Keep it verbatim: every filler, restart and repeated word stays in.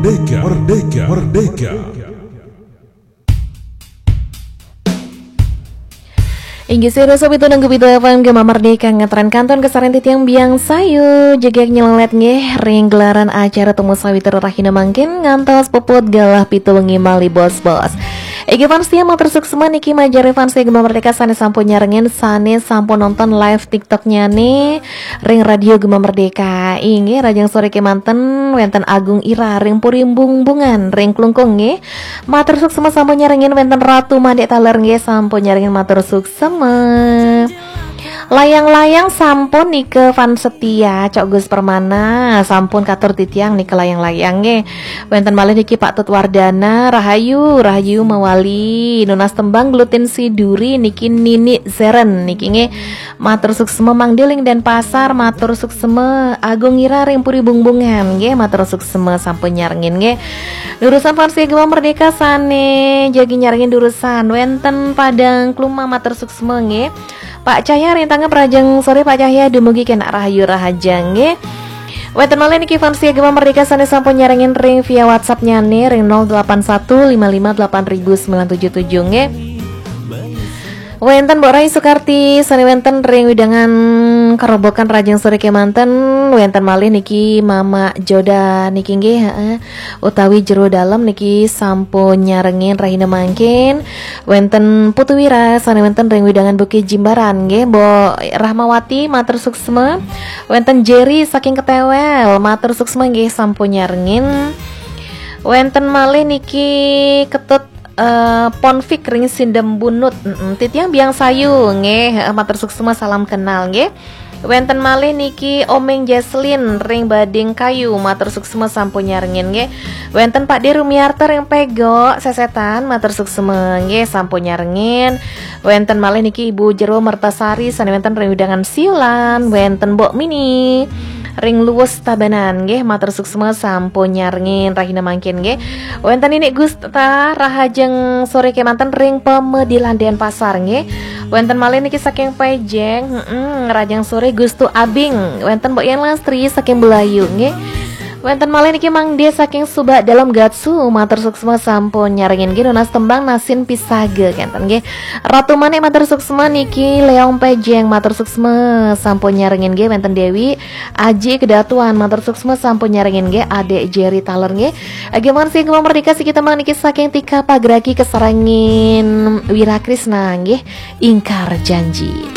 Merdeka, merdeka, merdeka. Inggih sira sobi tunang gupita F M Gema Merdeka ngetren kanton kesaran titiang biang sayu jegek nyelelet nggih ring gelaran acara temu sawitra rahina mangkin ngantos puput galah pitu wengi malih bos-bos. Inggih fans setia matur suksma niki majeng ring fans setia Gema Merdeka sane sampun nyarengin sane sampun nonton live TikToknya nih ring Radio Gema Merdeka. Inggih rahajeng sore kemanten wenten Agung Ira ring Puri Bungbungan ring Klungkung nggih. Matur suksma sampun nyarengin wenten Ratu Mandek taler nggih sampun nyarengin matur suksma. Layang-layang sampun nika fans setia Cok Gus Permana sampun katur titiang nika layang-layang nggih. Wenten malih niki Pak Tut Wardana rahayu rahayu mawali nunas tembang glutin si duri niki Nini Zeren niki nggih. Matur suksma Mang Diling Denpasar matur suksma Agung Ira ring Puri Bungbungan nggih matur suksma sampun nyarengin nggih. Durusan fans Gema Merdeka sane jagi nyarengin durusan wenten Padang Kluma matur suksma nggih. Pak Cahya ring Tangep rahajeng sore Pak Cahya dumugi kenak rahayu rahajeng nggih. Wenten malih niki fans Gema Merdeka sane sampun nyarengin ring via WhatsApp nyane ring nol delapan satu lima lima delapan ribu sembilan tujuh tujuh nggih. Wenten Mbok Rai Sukarti sane wenten ring wewidangan Kerobokan rahajeng sore kemanten wenten malih niki Mama Joda niki nggih heeh utawi Jero Dalem niki sampun nyarengin rahina mangkin. Wenten Putu Wira sane wenten ring wewidangan Bukit Jimbaran nggih Mbok Rahmawati matur suksma. Wenten Jerry saking Ketewel matur suksma nggih sampun nyarengin. Wenten malih niki Ketut eh, Ponfik ring Sindembunut. Mm-mm. Titiang biang sayu nggih heeh, matur suksma salam kenal nggih. Wenten malih niki Omeng Jesslyn ring Bading Kayu matur suksma sampun nyarengin nggih. Wenten Pak De Rumiarto ring Pego Sesetan matur suksma nggih sampun nyarengin. Wenten malih niki Ibu Jero Mertasari sane wenten ring wewidangan Siulan, wenten Mbok Mini ring Luwus Tabanan nggih matur suksma sampun nyarengin rahina mangkin nggih. Wenten Ninik Gusta rahajeng sore kemanten ring Pemedilan Denpasar nggih. Wenten malih niki saking Pejeng, heeh, rahajeng sore Gustu Abing. Wenten Mbok Yen Lastri saking Belayu nggih. Wenten malih niki Mang De saking Subak Dalem Gatsu, matur suksma sampun nyarengin nggih nunas tembang Nasin Pisaga kenten nggih. Ratu Manik matur suksma niki Leong Pejeng matur suksma sampun nyarengin nggih wenten Dewi Aji Kedatuan matur suksma sampun nyarengin nggih Adek Jerry taler nggih. Ageman sing Gema Merdeka siki tembang niki saking Tika Pagraki kesarengin Wira Krisna nggih Ingkar Janji.